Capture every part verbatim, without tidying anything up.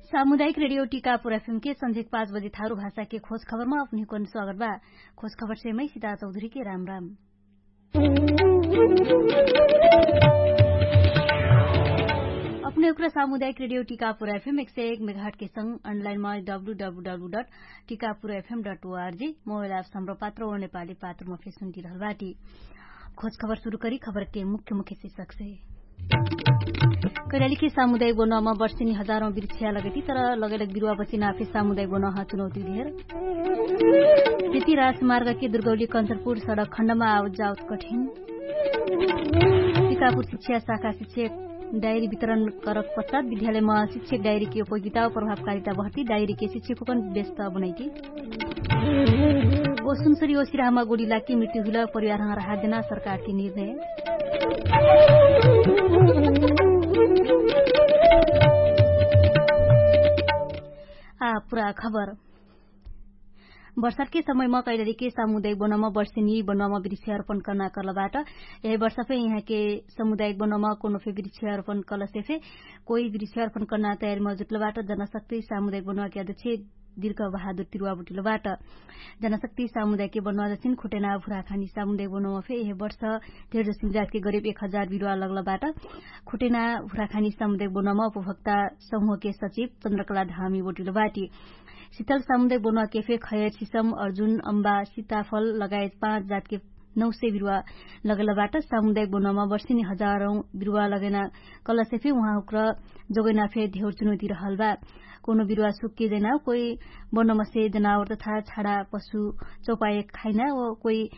सामुदायिक रेडियो टिकापुर एफएम के सन्झेक पाँच बजे थारु भाषा के खोज खबरमा अपनिकन स्वागत बा। खोज खबर सेमै सिता चौधरी के राम राम। अपने उक्र सामुदायिक रेडियो टिकापुर एफएम एक सय एक मेघाट के संग अनलाइन मा W W W dot Tikapur F M dot O R G mobile app सम्र पात्र ओर नेपाली पात्र मा फेसुन दिरहल बाटी। खोज खबर सुरु करी खबर के मुख्य मुख्य शिक्षक से। कैलाली के सामुदायिक बनोमा वर्षिनी हजारौं बिरुवा लगैती तर लगैलक बिरुवा बचिना आफे सामुदायिक बनोहा चुनौती धेर। त्यति राजमार्ग के दुर्गौली कन्चरपुर सडक खण्डमा आवत जावत कठिन। टिकापुर शिक्षा शाखा शिक्षक डायरी वितरण करक पश्चात विद्यालयमा शिक्षक डायरी के उपयोगिता प्रभावकारिता बहती डायरी के शिक्षक हुकन व्यस्त बनैती। ओ सुनसरी ओ सिराहमा गोडी लाकी मृत्यु हुइल परिवार हँगर हात देना सरकार के निर्णय। आ पुरा खबर। वर्षाके समयमा कैलालीके सामुदायिक बनोमा वर्षिनी बनोमा वृक्षारोपण कर्ना कर्लबाट। यही वर्षाफे यहाँके सामुदायिक बनोमा कोनोफे वृक्षारोपण कर्लसेफे कोही वृक्षारोपण कर्ना तयारीमा जुट्लबाट। जनशक्ति सामुदायिक बनोमाके अध्यक्ष दिर्घ बहादुर तिरुवा बुटिलबाट। जनशक्ति सामुदायिक बनोमा जसिन खुटेना भुराखानी सामुदायिक बनोमाफे यही वर्ष धेर जसिन जातके गरिब एक हजार बिरुवा लगलबाट। खुटेना भुराखानी सामुदायिक बनोमा उपभोक्ता समूहके सचिव चन्द्रकला धामी बुटिलबाट। सितल सामुदायिक बनोमा केफे खयर सिसम अर्जुन अम्बा सिताफल लगायत पाँच जातके नौ सय बिरुवा लगलबाट। सामुदायिक बनोमा वर्षिनी हजारौं बिरुवा लगैना कलसेफे उहाँ हुक्र जोगैना फे धेउर चुनौती रहल बा। कोनो बिरुवा सुक्के जैना कोही बनोमा से जनावर तथा छाडा पशु चौपाए खाइना कोही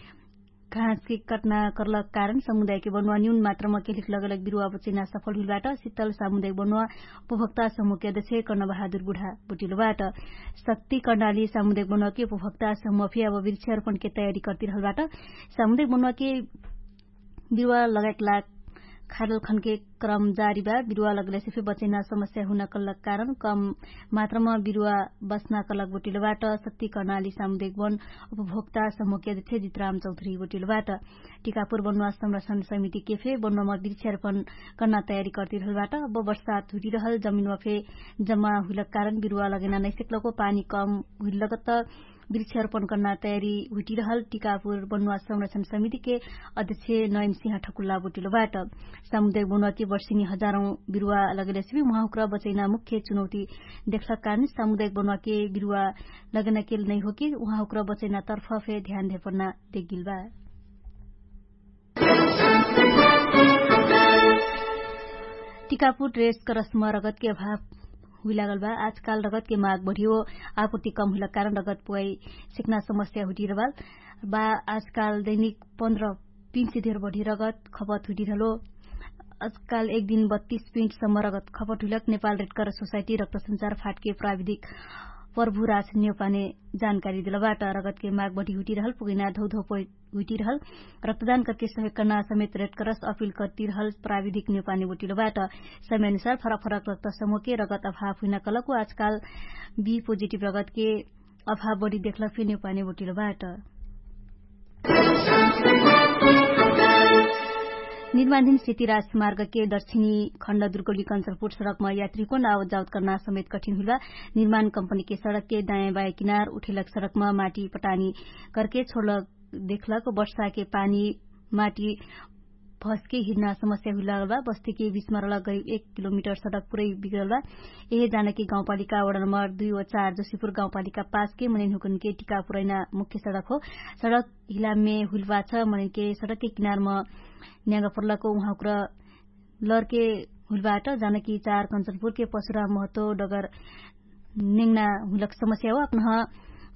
घाँसके कटना कर्लक कारण समुदायके बनोमा न्यून मात्रमा केलिक लगलक बिरुवा बचैना सफल हुइलबाट। सितल सामुदायिक बनोमा उपभोक्ता समुहके अध्यक्ष कर्णबहादुर बुढा बुटिलबाट। शक्ति कर्णाली सामुदायिक बनोमाके उपभोक्ता समुह फे अब वृक्षारोपणके तयारी कर्तिरहलबाट। सामुदायिक बनोमाके बिरुवा लगायक लाग खाडल खनके क्रम जारी बा। बिरुवा लगलेसे फे बचैना समस्या हुना कर्लक कारण कम मात्रमा बिरुवा बच्ना कर्लक बुटिलबाट। शक्ति कर्णाली सामुदायिक बन उपभोक्ता समुहके अध्यक्ष जितराम चौधरी बुटिलबाट। टिकापुर बनोमा संरक्षण समितिके फे बनोमा वृक्षारोपण कर्ना तयारी कर्तिरहलबाट। अब वर्षात हुटिरहल जमिनमा फे जम्मा हुइलक कारण बिरुवा लगैना नैसेक्लको पानी कम हुइलक त वृक्षारोपण कर्ना तयारी हुटिरहल टिकापुर बनोमा संरक्षण समितिके अध्यक्ष नयन सिंह ठकुल्ला बुटिलबाट। सामुदायिक बनोमाके वर्षिनी हजारौं बिरुवा लगैलेसे फे उहाँ हुक्र बचैना मुख्य चुनौती देखलक कारण सामुदायिक बनोमाके बिरुवा लगैना केल नैहोके उहाँ हुक्र बचैना तर्फ फे ध्यान धेपर्ना देखगिल बा। टिकापुर रेस करसम रगतके अभाव हुइलागल बा। आजकाल रगतके माग बढियो आपुर्ति कम हुइला कारण रगत पुवाई सिक्ना समस्या हुइटिरहल बा। आजकाल दैनिक पन्ध्र पिन्से धेर बढी रगत खपत हुइटिरहलो। आजकाल एक दिन बत्तीस पिन्टसम्म रगत खपत हुइलक नेपाल रेडकर सोसाइटी रगत संचार फाटके प्राविधिक प्रभु राज नेउपाने जानकारी दिलबाट। रगतके माग बढी हुइटिरहल पुगैना धौधौ पै हुइटिरहल रक्तदान करके सहयोग कर्ना समेत रेडकरस अपिल कर्तिरहल प्राविधिक नेउपाने बोटिलोबाट। समयनुसार फरक फरक रक्त समूहके रगत अभाव हुइना कलकु आजकाल बी पोजिटिभ रगतके अभाव बढी देखलक फे नेउपाने बोटिलोबाट। निर्माणधिन सेतिराज मार्गके दक्षिणी खण्ड दुर्गौली कन्चरपुर सडकमा यात्रीको नाव जाउत कर्ना समेत कठिन हुइलबा। निर्माण कम्पनीके सडकके दायाँ बायाँ किनार उठेलक सडकमा माटी पटानी करके छोडलक देखलक वर्षाके पानी माटी भस्के हिर्ना समस्या हुइलागल बा। बस्तीके बिचमा रलक गरिब एक किलोमिटर सडक पुरै बिगरल बा। एहे जानकी गाउँपालिका वडा नम्बर दुई व चार जोसिपुर गाउँपालिका पाँचके मनैनहुकनके टिका पुरैना मुख्य सडक हो। सडक हिलामे हुइलबा छ मनैनके सडकके किनारमा न्यागा पर्लक उहाँकुर लर्के हुइलबाट जानकी चार कन्चनपुरके पशुरा महत्व डगर नेङ्ना हुइलक समस्या हो। अपनह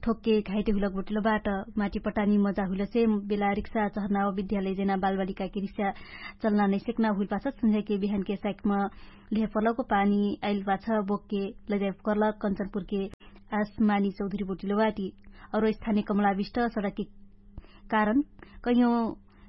ठोक्के घाइटे हुइलक बोटिलोबाट माटी पटानी मजा हुइलसे बेला रिक्सा चहर्ना हो विद्यालय जेना बालबालिकाके रिक्सा चल्ना नैसेक्ना हुइलपाछ। सन्झ्याके बिहानके साइकमा लेहपर्लको पानी आइलपाछ बोक्के लैजाइप कर्लक कन्चनपुरके आसमानी चौधरी बोटिलोबाटी। अरो स्थानिय कमलाविष्ट सडकके कारण कैयौँ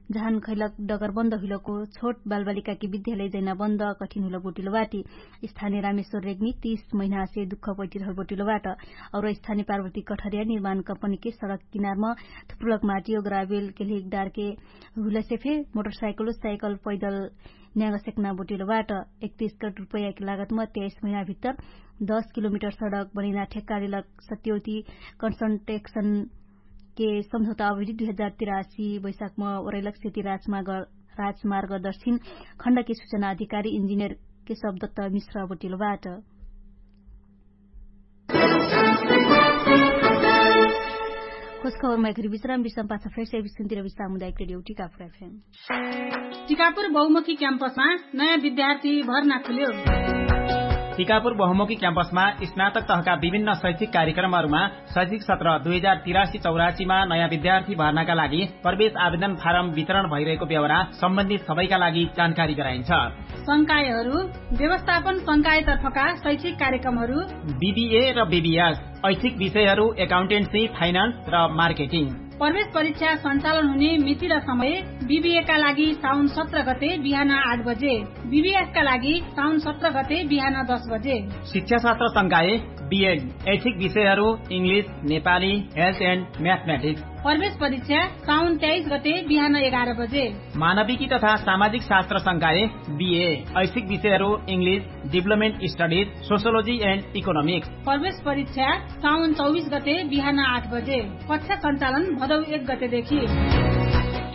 जहान खैलक डगर बन्द हुइलको छोट बालबालिकाके विद्यालय जैना बन्द कठिन हुइलक बोटिलोबाटी। स्थानिय रामेश्वर रेग्मी तीस महिनासे दुख पैटिरहल बोटिलोबाट। अरो स्थानिय पार्वती कठरिया निर्माण कम्पनीके सडक किनारमा थुप्रुलक माटी ओ ग्रावेल केल्हिक डारके हुइलसे फे मोटरसाइकल साइकल पैदल न्यागसेक्ना बोटिलो बाट। एकतिस करोड रुपैयाकी लागतमा त्याइस महिनाभित्तर दस किलोमिटर सडक बनैना ठेक्कालेलक सत्यौती कन्सन्ट्रेक्सनके सम्झौता अवधि दुई हजार तिरासी वैशाखमा ओरैलक सेती राजमार्ग दर्शिन खण्डके सुचना अधिकारी इन्जिनियरके शब्दत्त मिश्र बोटिलो बाट। खोजखबरमा एखरी विश्राम विश्राम पाछा फेर्से विश्राम तिरवि सामुदायिक रेडियो टिकापुर एफएम। टिकापुर बहुमुखी क्याम्पसमा नयाँ विद्यार्थी भर्ना खुल्यो। टिकापुर बहुमुखी क्याम्पसमा स्नातक तहका विभिन्न शैक्षिक कार्यक्रमहरूमा शैक्षिक सत्र दुई हजार तिरासी चौरासीमा नयाँ विद्यार्थी भर्नाका लागि प्रवेश आवेदन फारम वितरण भइरहेको व्यवहार सम्बन्धित सबैका लागि जानकारी गराइन्छ। संकायहरू व्यवस्थापन संकायतर्फका शैक्षिक कार्यक्रमहरू बिबिए र बिबिएस, ऐच्छिक विषयहरू एकाउन्टेन्सी, फाइनान्स र मार्केटिङ। प्रवेश परीक्षा सञ्चालन हुने मिति र समय बिबिएका लागि साउन सत्र गते बिहान आठ बजे, बिबिएसका लागि साउन सत्र गते बिहान दस बजे। शिक्षाशास्त्र संकाय बिएड, ऐच्छिक विषयहरू इङ्ग्लिस, नेपाली, हेल्थ एन्ड म्याथमेटिक्स। प्रवेश परीक्षा साउन तेइस गते बिहान एघार बजे। मानविकी तथा सामाजिक शास्त्र संकाय बिए, ऐच्छिक विषयहरू इङ्ग्लिस, डिभलपमेन्ट स्टडिज, सोसियोलोजी एन्ड इकोनोमिक्स। प्रवेश परीक्षा साउन चौबिस गते बिहान आठ बजे। कक्षा सञ्चालन भदौ एक गतेदेखि।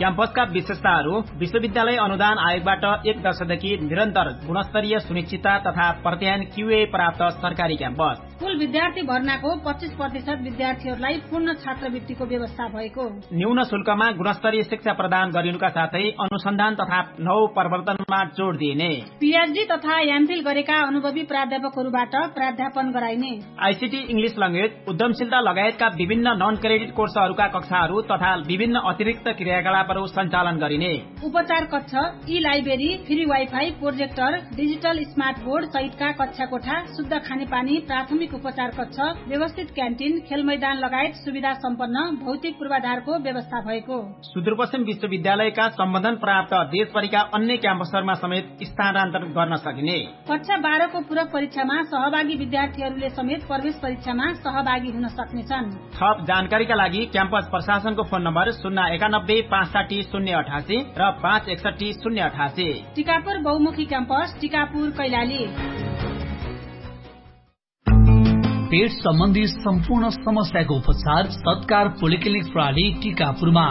क्याम्पसका विशेषताहरू विश्वविद्यालय अनुदान आयोगबाट एक दशकदेखि निरन्तर गुणस्तरीय सुनिश्चितता तथा प्रत्यायन क्युए प्राप्त सरकारी क्याम्पस। कुल विद्यार्थी भर्नाको पच्चिस प्रतिशत विद्यार्थीहरूलाई पूर्ण छात्रवृत्तिको व्यवस्था भएको। न्यून शुल्कमा गुणस्तरीय शिक्षा प्रदान गरिनुका साथै अनुसन्धान तथा नव प्रवर्तनमा जोड दिइने। पिएचडी तथा एमफिल गरेका अनुभवी प्राध्यापकहरूबाट प्राध्यापन गराइने। आइसिटी, इङ्ग्लिस ल्याङ्ग्वेज, उद्यमशीलता लगायतका विभिन्न नन क्रेडिट कोर्सहरूका कक्षाहरू तथा विभिन्न अतिरिक्त क्रियाकलापहरू सञ्चालन गरिने। उपचार कक्ष, ई library, free wifi, projector, digital smart board सहितका कक्षा कोठा, शुद्ध खानेपानी, प्राथमिक उपचार कक्ष, व्यवस्थित क्यान्टिन, खेलमैदान लगायत सुविधा सम्पन्न भौतिक पूर्वाधारको व्यवस्था भएको। सुदूरपश्चिम विश्वविद्यालयका सम्बन्धन प्राप्त देशभरिका अन्य क्याम्पसहरूमा समेत स्थानान्तरण गर्न सकिने। कक्षा बाह्रको पूरक परीक्षामा सहभागी विद्यार्थीहरूले समेत प्रवेश परीक्षामा सहभागी हुन सक्नेछन्। थप जानकारीका लागि क्याम्पस प्रशासनको फोन नम्बर शून्य एकानब्बे पाँच साठी शून्य अठासी र पाँच एकसठी शून्य अठासी। टिकापुर बहुमुखी क्याम्पस, टिकापुर कैलाली। पेट सम्बन्धी सम्पूर्ण समस्याको उपचार सत्कार पोलिक्लिनिक प्रणाली टिकापुरमा।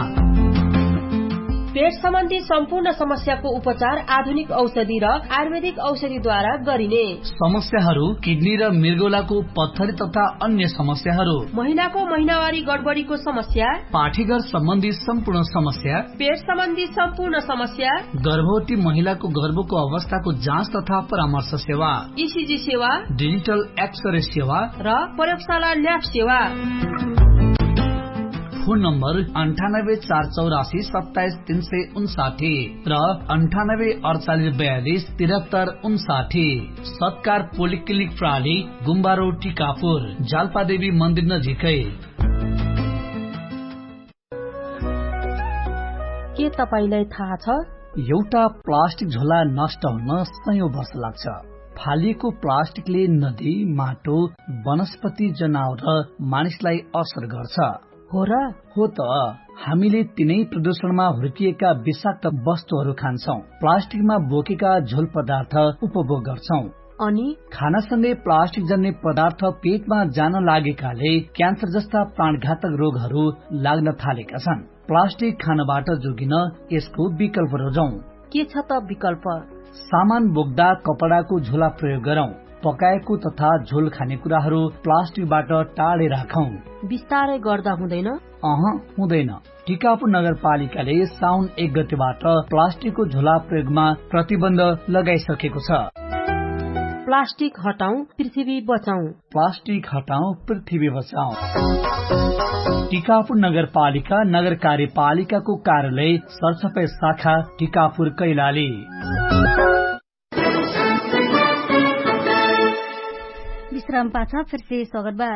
पेट सम्बन्धी सम्पूर्ण समस्याको उपचार आधुनिक औषधि र आयुर्वेदिक औषधिद्वारा गरिने। समस्याहरू किडनी र मृगौलाको पत्थरी तथा अन्य समस्याहरू, महिनाको महिनावारी गडबडीको समस्या, पाठीघर सम्बन्धी सम्पूर्ण समस्या, पेट सम्बन्धी सम्पूर्ण समस्या, गर्भवती महिलाको गर्भको अवस्थाको जाँच तथा परामर्श सेवा, इसिजी सेवा, डिजिटल एक्सरे सेवा र प्रयोगशाला ल्याब सेवा। फोन नम्बर अन्ठानब्बे चार चौरासी सत्ताइस तीन सय उन्साठी र अन्ठानब्बे अडचालिस बयालिस तिरहत्तर उन्साठी। सत्कार पोलिक्लिनिक प्रणाली, गुम्बारो टिकापुर, जालपादेवी मन्दिर नजिकै। के तपाईंलाई थाहा छ? एउटा प्लास्टिक झोला नष्ट हुन सयौं वर्ष लाग्छ। फालिएको प्लास्टिकले नदी, माटो, वनस्पति, जनावर र मानिसलाई असर गर्छ। हो र? हो त। हामीले तिनै प्रदूषणमा हुर्किएका विषाक्त वस्तुहरू खान्छौं, प्लास्टिकमा बोकेका झोल पदार्थ उपभोग गर्छौं। अनि खानासँगै प्लास्टिक जन्ने पदार्थ पेटमा जान लागेकाले क्यान्सर जस्ता प्राणघातक रोगहरू लाग्न थालेका छन्। प्लास्टिक खानबाट जोगिन यसको विकल्प रोजौं। के छ त विकल्प? सामान बोक्दा कपडाको झोला प्रयोग गरौं। पकाएको तथा झोल खाने कुराहरू प्लास्टिकबाट टाढे राखौं। बिस्तारै गर्दा हुँदैन? अह, हुँदैन। टिकापुर नगरपालिकाले साउन एक गतेबाट प्लास्टिकको झोला प्रयोगमा प्रतिबन्ध लगाइसकेको छ। प्लास्टिक हटाउँ, पृथ्वी बचाउँ। प्लास्टिक हटाउँ, पृथ्वी बचाउँ। टिकापुर नगरपालिका नगर कार्यपालिकाको कार्यालय सरसफाइ शाखा टिकापुर कैलाली। विश्राम पाछा फेर्से स्वागत बा।